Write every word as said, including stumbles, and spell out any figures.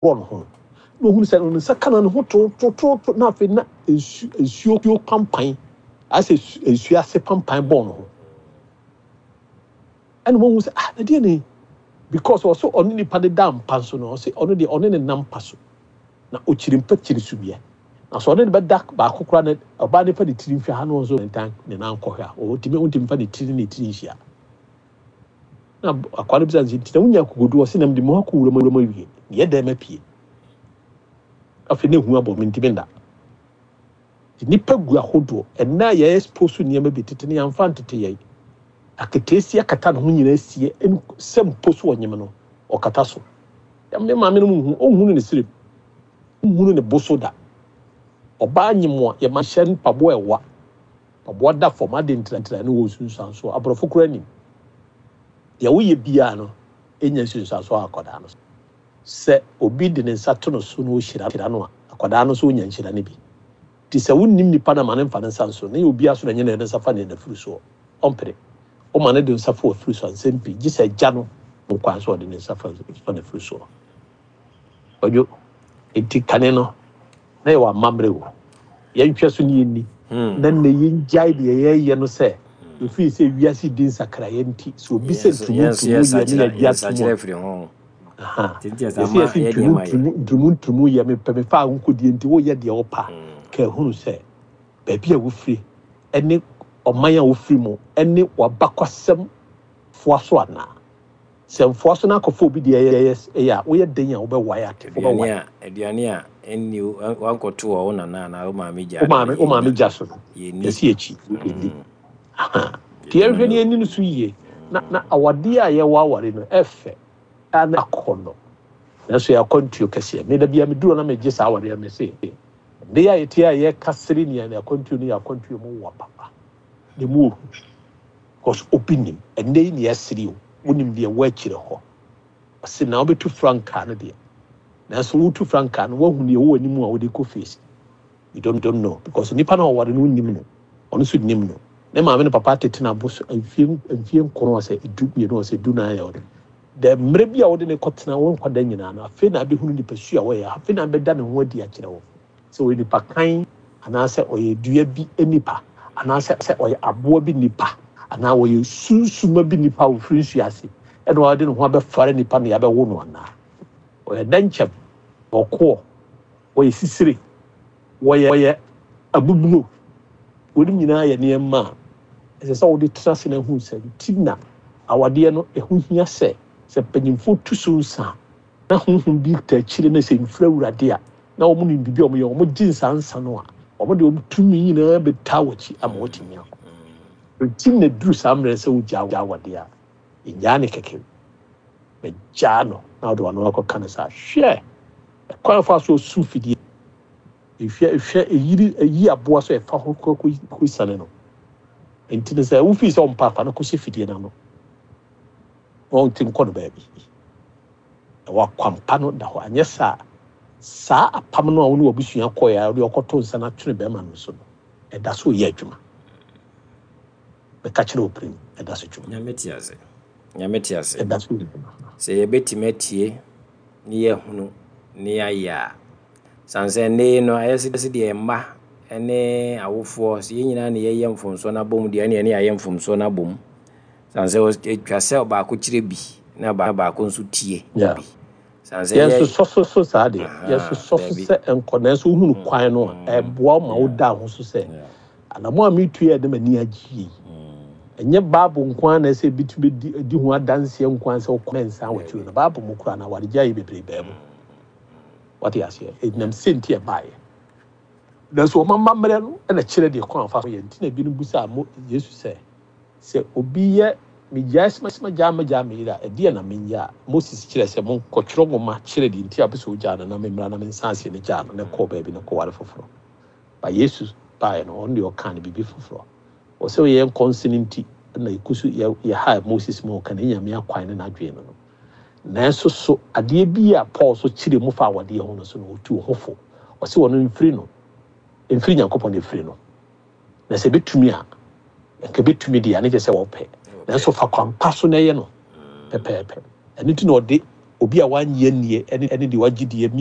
Ɔhohoro ne ho no, na ohunu sɛ ne nsa ka no, ne ho totototo, na afei na nsu nsuo pampan ayɛ sɛ nsuo ase pampan bɔɔ ne ho. Ɛna wɔn sɛ, "Ah, ɛdeɛ ne?" Because ɔsɛ ɔne nipa de da mpa so no, ɔsɛ ɔno deɛ ɔne ne nam mpa so na ɔkyiri mpa kyiri sumiɛ, na sɛ ɔne ne bɛda baako koraa na ɔbaa ne fa ne tiri nhwɛ ha na ɔnso ne ntan ne nan kɔhwɛ a, ɔntumi ɔntumi fa ne tiri ne tiri nhyia. Na akwa no bisa no sɛ, "Nti na wonya akokodu?" Ɔsɛ, "Nam de mu akɔ wuram wuram awie yɛ dɛn ma pie. Afei ne hu abɔ me, ntumi nda." Nti nipa gu ahodoɔ ɛnna a yɛ expose nneɛma bi tete ne yɛmfa ntete yɛn aketeesi akata ne ho nyinaa sie sɛ mpo so ɔnyem no ɔkata so. Me maame no mu hu ɔnhunu ne sirem, nhunu ne bo so da. Ɔbaa nyem a, yɛma hyɛ mpaboa, ɛwa mpaboa da fam ade ntirantira ne wɔ nsunsuansoɔ. Aborɔfo koraa nim deɛ woyɛ biara no ɛnya nsunsuansoɔ a akwadaa no so. Sɛ obi de ne nsa to no so na ɔhyira no a, akwadaa no nso ɔnya nhyira no bi. Nti sɛ wonnim nipa no, ma ne mfa ne nsa nso na yɛ obiara so na nyɛ ne nsa fa ne n'afuru soɔ. Ɔmpere woma ne de nsa fa wafuru so a, nsɛm pii gye sɛ agya no ho kwan so ɔde ne nsa fa fa n'afuru soɔ. Ɔdwo nti kane no na yɛwɔ amammerɛ o, yɛntwɛ so ne yɛnni na nnɛ yɛngyae deɛ yɛyɛ no sɛ ɛfiri sɛ wiase di nsakraeɛ. Nti sɛ obi sɛ ntumu ntumu yɛ ne yɛgye atom a firi ho. Aha. Nti yɛsɛ ama yɛsɛ yɛ ntumu nneɛma yɛ ntumu ntumu ntumu yɛ mepɛ mefa ahokodie nti woyɛ deɛ wopa ka ehunu sɛ baabi a wofiri ɛne ɔman a wofiri mu ɛne w'abakɔsɛm foa so anaa sɛ mfoa so no akɔfa obi deɛ ɛyɛ ɛyɛ a woyɛ den a wobɛwae ate aduane wobɛwae. A aduane a ɛnni wankɔto wɔ wo nana anaa wo maame gya wo no maame wo maame yɛnni gya so no yɛnni. Yɛsi akyi yɛnni. Aha. Nti yɛdi yɛnhwɛ no ne yɛni no so yie na na awadeɛ a yɛwɔ aware no ɛfɛ a na akɔ no, nanso yɛ akwantuo kɛseɛ. Meda bia meduro na megye saa awareɛ me se nde a yɛte a yɛka sere nea ne akwantuo no yɛ akwantuo mu wɔ papa ne mu ohu, because obi nim ɛnɛ yi ne yɛsere o, wonim deɛ ɛwɔ akyire hɔ. Ɔse na wobɛtu frankaa no deɛ, nanso wotu frankaa no, woahu deɛ ɛwɔ anim a wode kɔ face. You don't, don't know, because nipa no a ɔware no, wonim no, ɔno nso nim no, ne maame ne papa tete no abo so mfie mfie nkron ɔsɛ edu mmienu ɔsɛ du nan yɛ ɔde dɛ mmerɛ bi a wode ne kɔtena wo nkwadaa nyinaa no, afei na abɛhunu nipa su a wɔyɛ, afei na abɛda ne ho adi akyerɛ wo sɛ ɔyɛ nipa kan anaasɛ ɔyɛ dua bi nipa anaasɛ sɛ ɔyɛ aboa bi nipa anaa ɔyɛ sunsuma bi nipa a ofiri nsuo ase ɛna ɔde ne ho abɛfare nipa na yɛabɛwo no, anaa ɔyɛ dɛnkyɛm, ɔkoɔ, ɔyɛ sisire, wɔyɛ ɔyɛ abuburo. Wɔn nyinaa yɛ nneɛma a ɛsɛ sɛ wɔde tena ase na ehu sɛ nti na awadeɛ no ɛho hia sɛ sɛ mpanyinfoɔ tu so nsa na honhom bi ta akyire na sɛ mfiri Awurade a na wɔn nim biribi a wɔn yɛ, wɔn gye nsa nsa no a, wɔn de wɔn tumi nyinaa bɛtaa wɔn akyi ama wɔtumi akɔ. Nti na duru saa mmerɛ sɛ wogya awadeɛ a, ɛnyaa ne kɛkɛ bɛgyaa no na wɔde wɔn ano akɔka no saa. Hwɛ ɛkwan fa so osu fidie ehwɛ ehwɛ eyiri eyi aboa so ɛfa ho kɔ kɔ kɔ sane no. Nti no sɛ wofi sɛ ɔmpa afa no kɔhyɛ fidie n'ano na ɔnte nkɔ no baabi na wakwampa no da hɔ. Anyɛ saa saa apam no a wo ne wabusua kɔɛ a wode ɔkɔto nsa no atwene bɛrima no so no, ɛda so yɛ adwuma. Bɛka kyerɛ wo pirim, ɛda so dwuma. Nyame te ase, Nyame te ase. Ɛda so yɛ adwuma. Sɛ yɛbɛtumi atie ne yɛahunu ne yɛayɛ a, sane sɛ nnɛ no ayɛ sɛ deɛ mma ne awofoɔ sɛ yɛn nyinaa ne yɛyɛ mfomsoɔ no abom deɛ, ɛne ɛne yɛayɛ mfomsoɔ no abom, sane sɛ ɛtwa sɛ ɔbaako kyerɛ bi na baako nso tie Yeah. bi, sane sɛ yɛ Yɛnsosɔ so so saa deɛ Aha, yɛsosɔ so daabi. Sɛ nkɔ nanso wohunu kwan no a ɛboa wo ma woda ho so sɛ anamo a metu yɛ de m'ani agye yi, ɛnyɛ Bible nko ara na ɛsɛ bi tumi di di ho adanseɛ nko ara sɛ wokɔ mɛnsa wɔtiri no. Bible mu koraa na awaregya yi bebree bɛɛ mu. Wate aseɛ? Ɛnam sɛ nti ɛbaeɛ, nanso ɔma mmammerɛ no ɛna kyerɛ deɛ kwan fa so yɛ. Nti na ebinom bisa mo Yesu sɛ sɛ obi yɛ megyae sɛ magyaa magyaa me yere a, ɛdeɛ na menyɛ a Moses kyerɛ sɛ monkɔtwerɛ nwoma kyerɛ deɛ nti a wopɛ sɛ wogyaa no na memmra na mensa aseɛ no gyaa no na kɔɔ baabi na kɔware foforɔ. Ba Yesu baeɛ no, ɔno deɛ ɔka no biribi foforɔ. Ɔsɛ ɔyɛ nkɔnsene nti na ɛku so yɛ yɛha Moses mu ɔka ne Nyame akwan ne n'adwene no no nanso so adeɛ bi a Paul so kyerɛ mu fa awadeɛ ho no so no, ɔtu ho fo. Ɔsɛ wɔno mfiri no, mfiri Nyankopɔn na ɛfiri no, na sɛ ɛbɛtumi a nka bɛtumi deɛ a ne kyɛ sɛ wɔpɛ, nanso fa kwampa so na ɛyɛ no pɛpɛɛpɛ. Ɛno nti na ɔde Obi a wanyɛ nie ɛne ɛne deɛ wagye die.